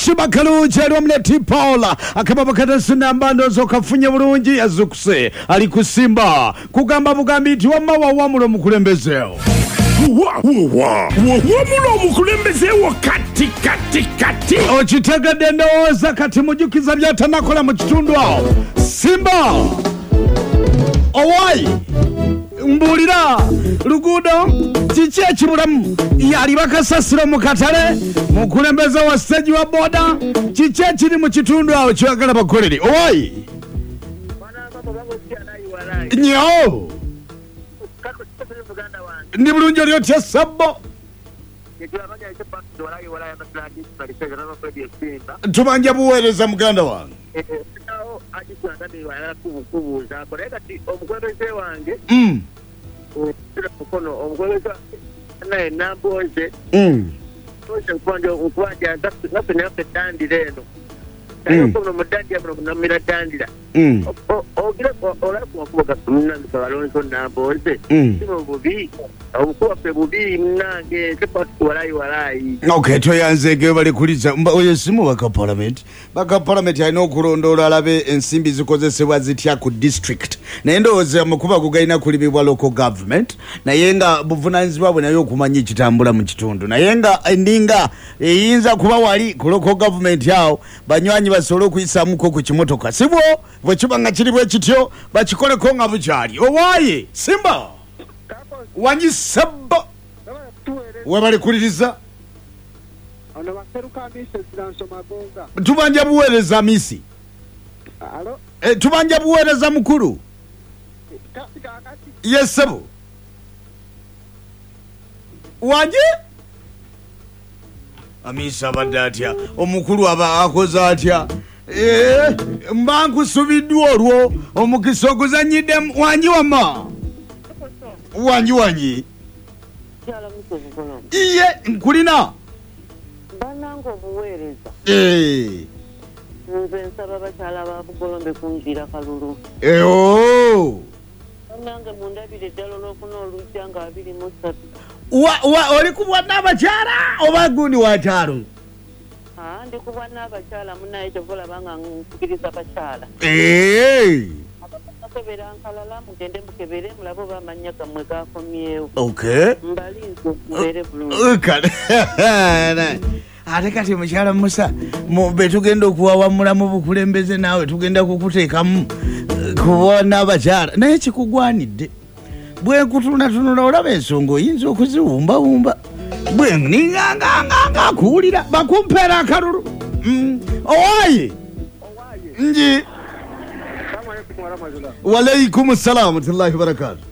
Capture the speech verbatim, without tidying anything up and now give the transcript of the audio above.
Sibakalungi ali wamu ne T Paula akababa katasinamba ndowooza okafunye bulungi yazukuse ali kusimba kugamba bugambi nti wamma wawamula omukulembezeewo. Wawamula omukulembezeewo kati kati kati. Okitegedde ndowooza kati mujukiza byatanakola mu kitundu awo. Simba owayi mbuulira luguudo kiki ekibulamu yali bakasasiro mu katale mukulembeze wa stage wa boda kiki ekiri mu kitundu awo kyagala bakolere owayi nyo ndi bulungi oli otya sabbo tubanja buweereza muganda wange Mm. Mm. Mm. Mm. Mm. Okay, toyanzege bali kuliza oyo simu baka parliament baka parliament alina okulondoola alabe ensimbi zikozesebwa zitya ku district naye ndowooza amakubo ago galina kulibibwa local government naye nga buvunaanyizibwa bwe naye okumanya ekitambula mu kitundu naye nga endinga eyinza kuba wali ku local government awo banywanyi basobole okuyisaamuko ku kimotoka sibwo bwe kiba nga kiri bwe kityo bakikoleko nga bukyali owaaye Simba wanyisaba webali kuliriza tubanja buweereza misi e, tubanja buweereza mukulu yesebo wanje Amisa abadde atya omukulu aba akoze atya Eh, mba nkusubiddwa olwo omukisa oguzanyiddemu wanyi wamma wanyi wanyi iye nkulina bannange obuweereza Eh. Nze nsaba bakyala ba Bugolombe kunjira kalulu Eh, oh. Bannange mundabire ddala olwokuna olujja nga abiri mu ssatu Wa, wa, oli kubwa n'abakyala oba gundi wa kyalo Ah, ndi kubwa n'abakyala munnaye kyova olaba nga nkukiriza bakyala Eh. Abakebera nkalala mugende mukebere mulabe oba amannya gammwe gakomyewo Okay. Mbalinze mubeere bulungi Kale. Ate kati mukyala Musa be tugenda okuwawamula mu bukulembeze naawe tugenda kukuteekamu kuba n'abakyala naye kikugwanidde bwe nkutunatunula olaba ensonga oyinza okuziwumbawumba bwe ninganganganga akuwulira bakumpeera akalulu Mm. Owaye nji walaikum salam warahmatullahi wabarakatuh.